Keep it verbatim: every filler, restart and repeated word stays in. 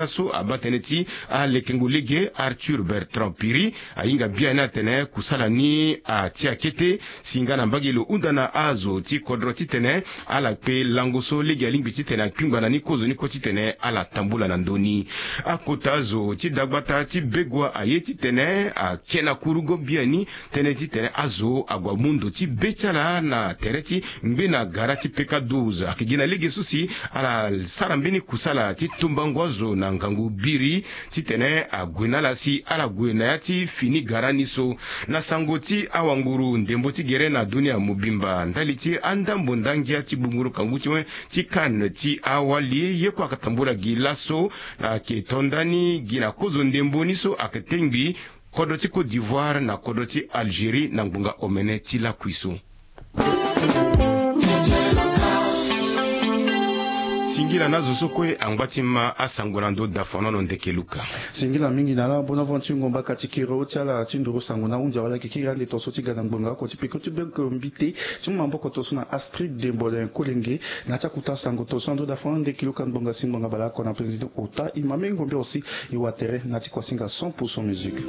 so abaa tënë ti alekengo lege Arthur Bertrand Piri ahinga biani atene kusala ni atia kete si nga na mbage lo hunda na azo ti kodro titene ala kpe lango so lege alingbi titene akpingba na ni kozo ni kue titene ala tambula na ndö ni. Akota zo ti dagbata ti Begoua aye titene ake na kurugo biani tënë titene azo ague amu ndo ti be ti ala na tere ti ngbena gara ti P K douze. Ayeke gi na lege so si ala sara mbeni kusala ti tombango azo na ngangu biri titene ague na ala si ala gue na ya ti fini gara ni so. Na sango ti awanguru ndembo ti gere na dunia mobimba ndali ti andambo ndangia ti gbungburu kangu ti wen ti CAN ti awali ye kue ayeke tambula gi laso. Ayeke to ndani gi na kozo ndembo ni so ayeke tengbi kodro ti Côte d'Ivoire na kodro ti Algérie na ngbonga omene ti lakui so. Singila na azo so kue angba ti ma asango na ndö dafanono ndeke luka. Singila mingi na ala bona von ti ngomba kati kiro ti ala ti nduru sango na hunzi awala yeke kiri ande tongaso ti ga na ngbonga oko ti peko ti beko mbite ti mu maboko tongaso na Astrid Dembole Kolenge. Na ti akuta sango tongaso na ndö dafanono ndeke luka ngbonga si ngbonga baleoko na président ota e ma mengo mbi aussi e wa tere na ti kuasinga cent pour cent musique.